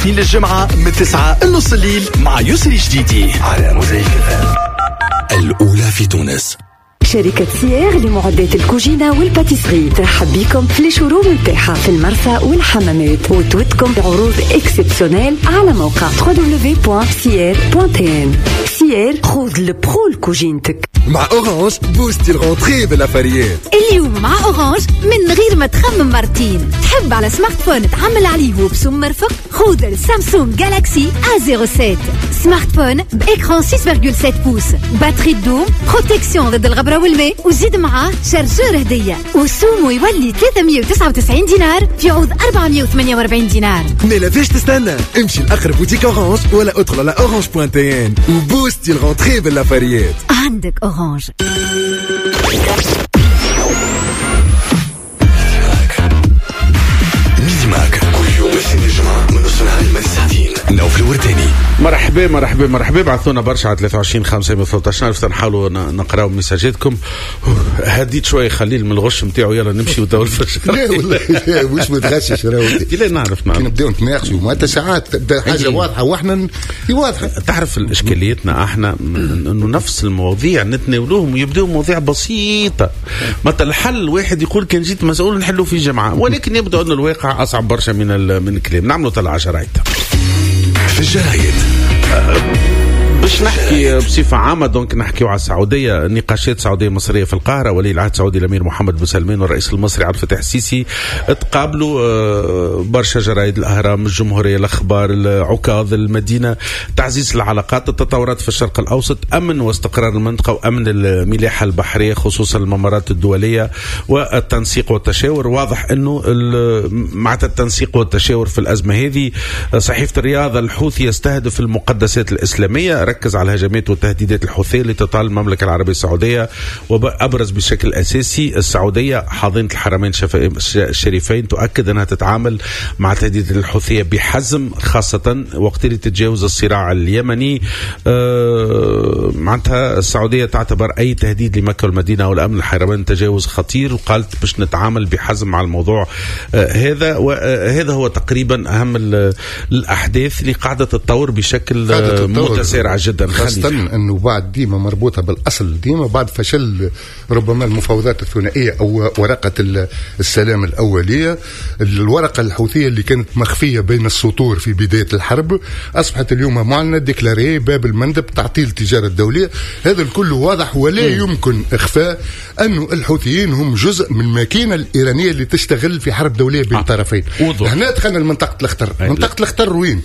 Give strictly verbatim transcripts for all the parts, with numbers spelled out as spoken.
الاثنين للجمعة من تسعة لنص الليل مع يسري جديدي على موزايك الأولى في تونس. شركة سيير لمعدات الكوجينة وال pâtisserie ترحب بكم في les showrooms نتاعها في المرسى والحمامات وتودكم بعروض exceptionnelles على موقع دبليو دبليو دبليو دوت سيير دوت تي ان. سيير، خذ ال pro لكوجينتك. مع Orange بوستي ال rentrée بالافاريات. اليوم مع Orange من غير ما تخمم مرتين، تحب على smartphone تعمل عليه وبسوم مرفق؟ خذ ال Samsung Galaxy A صفر سبعة، smartphone ب écran ستة فاصلة سبعة pouces، batterie تدوم، protection ضد الغبرة والماء، وزيد معاه chargeur هدية، وسومو يولي ثلاثمية وتسعة وتسعين دينار في عوض أربعمية وثمانية وأربعين دينار. مالا فاش تستنى؟ امشي لأقرب boutique Orange ولا ادخل على Orange point tn وبوستي ال rentrée بالافاريات. عندك Orange. ميدي ماك كل يوم الاثنين الجمعة من نص نهار لمدة ساعتين. نوفل الورتاني. مرحبا مرحبا مرحبا، بعثونا برشا على ثلاثة وعشرين خمسمية وثلاثة عشر نحاولوا نقراو ميساجاتكم. هديت شوية خليل من الغش نتاعو، يلا نمشي وتو الفجر. لا والله لا مش متغشش راهو. لا نعرف نعرف كي نبداو نتناقشوا معناتها ساعات تبدا حاجة واضحة واحنا واضحة. تعرف اشكاليتنا احنا انه نفس المواضيع نتناولوهم ويبداو مواضيع بسيطة. مثلا الحل واحد يقول كان جيت مسؤول نحلو في جمعه، ولكن يبدو ان الواقع اصعب برشا من من الكلام. نعملوا طلعه شرايط في الجرايد. باش نحكي بصفة عامة، donc نحكيو على السعودية، نقاشات سعودية مصرية في القاهرة. ولي العهد السعودي الأمير محمد بن سلمان والرئيس المصري عبد الفتاح السيسي تقابلوا. برشا جرايد، الأهرام، الجمهورية، الأخبار، العكاظ، المدينة، تعزيز العلاقات، التطورات في الشرق الأوسط، أمن واستقرار المنطقة وأمن الملاحة البحرية خصوصا الممرات الدولية، والتنسيق والتشاور. واضح أنه مع التنسيق والتشاور في الأزمة هذه. صحيفة الرياض، الحوثي يستهدف المقدسات الإسلامية، ركز على الهجمات والتهديدات الحوثية اللي تطال المملكة العربية السعودية، وأبرز بشكل أساسي السعودية حاضنة الحرمين الشريفين تؤكد أنها تتعامل مع تهديد الحوثية بحزم، خاصة وقت اللي تتجاوز الصراع اليمني. أه معناتها السعودية تعتبر أي تهديد لمكة والمدينة والأمن الحرمين تجاوز خطير، وقالت باش نتعامل بحزم مع الموضوع أه هذا. وهذا هو تقريبا أهم الأحداث اللي قاعدة تتطور بشكل متسارع جدا، خاصة أنه بعد ديما مربوطة بالأصل، ديما بعد فشل ربما المفاوضات الثنائية أو ورقة السلام الأولية، الورقة الحوثية اللي كانت مخفية بين السطور في بداية الحرب أصبحت اليوم معلنة، déclarée، باب المندب، تعطيل التجارة الدولية، هذا الكل واضح ولا يمكن إخفاء أنه الحوثيين هم جزء من الماكينة الإيرانية اللي تشتغل في حرب دولية بين الطرفين. هنا دخلنا لمنطقة الخطر. منطقة الخطر وين؟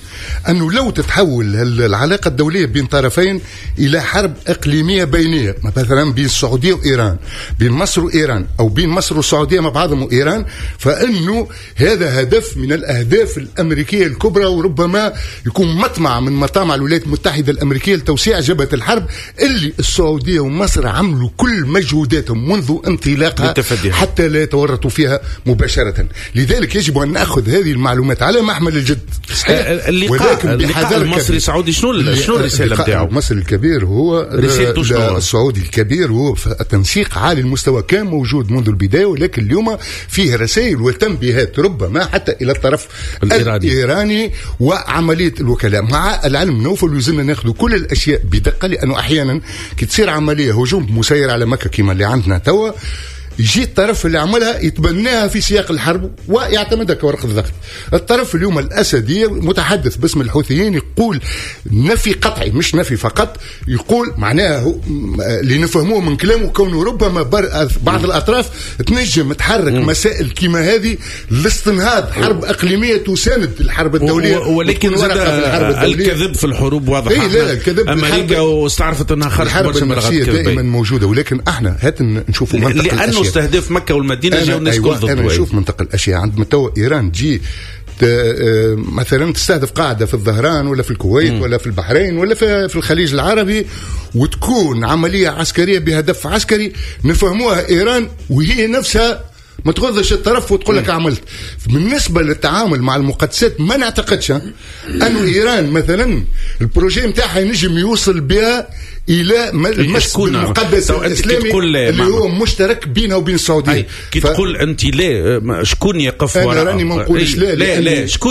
أنه لو تتحول العلاقة الدولية بين طرفين إلى حرب إقليمية بينية، مثلا بين السعودية وإيران، بين مصر وإيران، أو بين مصر والسعودية مع بعضهم وإيران، فإنه هذا هدف من الأهداف الأمريكية الكبرى، وربما يكون مطمع من مطامع الولايات المتحدة الأمريكية لتوسيع جبهة الحرب اللي السعودية ومصر عملوا كل مجهوداتهم منذ انطلاقها حتى لا يتورطوا فيها مباشرة. لذلك يجب أن نأخذ هذه المعلومات على محمل الجد، صحيح، ولكن بحذر. المصري السعودي شنو شنو الرسالة نتاعو؟ المصري الكبير هو السعودي الكبير هو التنسيق عالي المستوى كان موجود منذ البداية، ولكن اليوم فيه رسائل وتنبيهات ربما حتى إلى الطرف الإيراني, الإيراني وعملية الوكلاء. مع العلم نوفل يلزمنا ناخذ كل الأشياء بدقة، لأنه أحيانا كي تصير عملية هجوم مسير على مكة كما اللي عندنا توا، يجي الطرف اللي عملها يتبناها في سياق الحرب ويعتمدها كورقة ضغط. الطرف اليوم الأسدي متحدث باسم الحوثيين يقول نفي قطعي، مش نفي فقط، يقول معناه اللي نفهموه من كلامه كونه ربما بعض الأطراف تنجم تحرك مسائل كما هذه لاستنهاض حرب إقليمية تساند الحرب الدولية، ولكن الكذب في الحروب واضح. إيه لا الكذب أمريكا واستعرفت أنها خرجت برشا من الغرب دائما موجودة، ولكن احنا هات نشوفوا منطقة لأنه استهداف مكة والمدينة جاو الناس كل ضد. أنا نشوف منطقة الأشياء عندما تو إيران تجي مثلا تستهدف قاعدة في الظهران ولا في الكويت م. ولا في البحرين ولا في الخليج العربي، وتكون عملية عسكرية بهدف عسكري نفهموها إيران وهي نفسها ما تغضش الطرف وتقول لك عملت. بالنسبة للتعامل مع المقدسات ما نعتقدش أنه إيران مثلا ال projet نتاعها ينجم يوصل بها الى المس المقدس الاسلامي اللي هو مشترك بينها وبين السعودية. كي ف... تقول انت لا، شكون يقف وراء؟ انا راني ما نقولش لا، لا لا شكون